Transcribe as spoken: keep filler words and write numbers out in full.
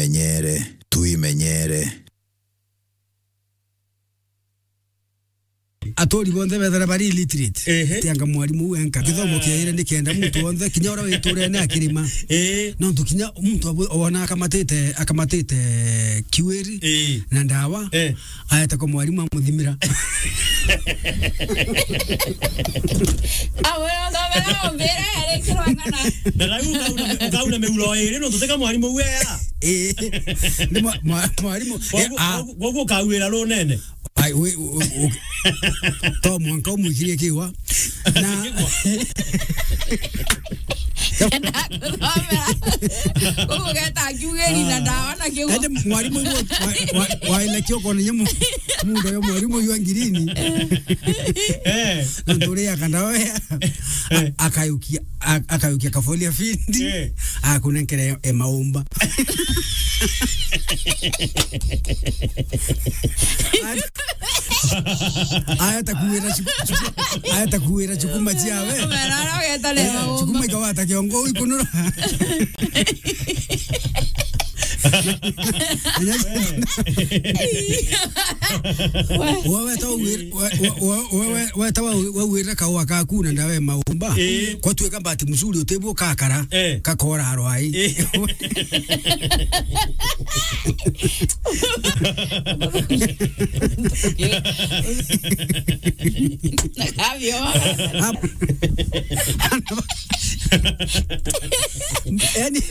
Tuimenyere, tuimenyere. Aturi bonthe bethira bari illiterate. Ehe. Tianga mwarimu uu enka. Kithomo kiaire ni kenda muntu wonthe, kinya uria witurene akirima. Ii. Nontu kinya muntu abu-, wona akamatite, akamatite kiwiri, ii, na ndawa, eh, aeta kwa mwarimu amuthimira. Awe, athomera ombire, arikirwa ng'ana. Na rau ukauna, ukauna miuro iri, nontu tika mwarimu uu ea. Ii. Ni mwa-, mwa-, mwarimu. Koguo, eh, ah, koguo, koguo ukawira runene. Ai, we, u-, u-, u-, to mwanka umwikirie kiwa. Na Ndakuthomera. Ugeta kiugeri na ndawa na kiwa. Ende mwarimu yu wa, wa, wa, waile kioko ni nyamu. Mundu yo mwarimu yu angirini. Eh. Na nduri ya kandawa ya. Eh. A-, akayukia, a-, akayukia kafolia findi. Eh. Akunenkere e maumba. Aya takuwira chuku-, chuku-, aya takuwira chukuma chiawe. Mera ara ugeta leo. Eh, chukuma ikawata kiongo ikunura. Wewe ta uwir-, we-, we-, we-, we-, we ta wa-, wawira kawa kaku na ndawe maumba. Eh. Kwa tuika bahati mzuri utibu kakara, eh, kakora arwai. Eh. Abio. Yani.